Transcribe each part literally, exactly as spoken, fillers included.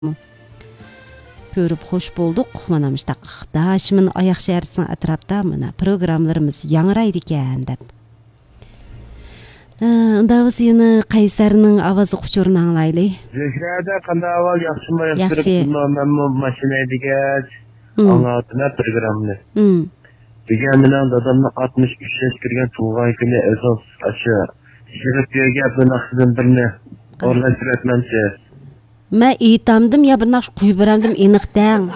көрүп хош болдук. Мына мыштак Дашмын аяк шаарысынын атрапта мына программаларыбыз яңырайт экен деп. Ындабыз эми Кайсарынын авазы кучурун аңлайлы. Жешрада кандай абал жакшымы? Жакшы. Мен машина дегет. Аңатына программаны. Деген менен дадамны алтымыш үч жаш кирген туулган күнү эсос ашы. Жигиттерге бунаксыдан бирне орлаштыратманчы. Мен ыйтамдым я бир накш куюп беремдим эниктен.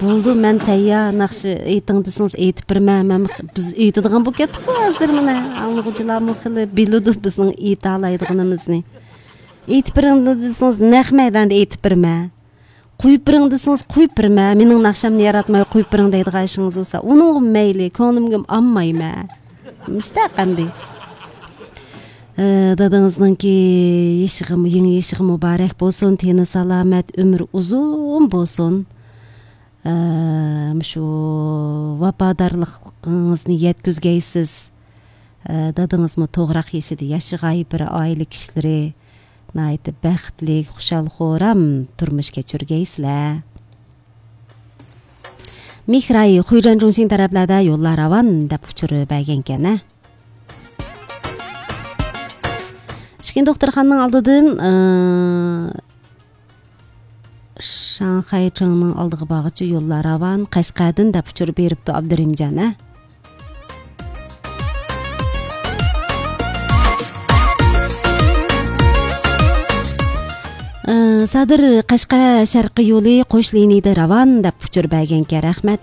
Болду, мен тайя накшы ыйтыңдысыңыз ыйтып берме. Мен биз ыйтыдыган болуп кеттик го азыр мына. Аңлыгычылар мыкылы билуду биздин ыйта алайдыгыныбызды. Ыйтып бериңдисиңиз нак майданда ыйтып берме. Куюп бериңдисиңиз куюп берме. Менин накшамды яратмай куюп бериң дейдиган ишиңиз болсо, унун мейли, көңүлүмгө аммайм. Мышта кандай? Дадыңыздыңки ишигим, эң ишиги мубарак болсун, тени саламат, өмүр узун болсун. Мышу вападарлыгыңызды жеткизгейсиз. Дадыңызмы тогурак ишиди жашагай бир айыл кишилери найты бактылык, кушал хорам турмуш кечиргейсиз. Михрай Хуйжан Жунсин тараплада yollar avan деп учуру байгенкен. Ишкен докторхананын алдыдын Шанхай чыңынын алдыгы багычы yollar avan Кашкадын деп учур берипти Абдыримжан. Садыр Кашка шаркы yo'li qo'sh liniyada ravon deb uchur berganga rahmat.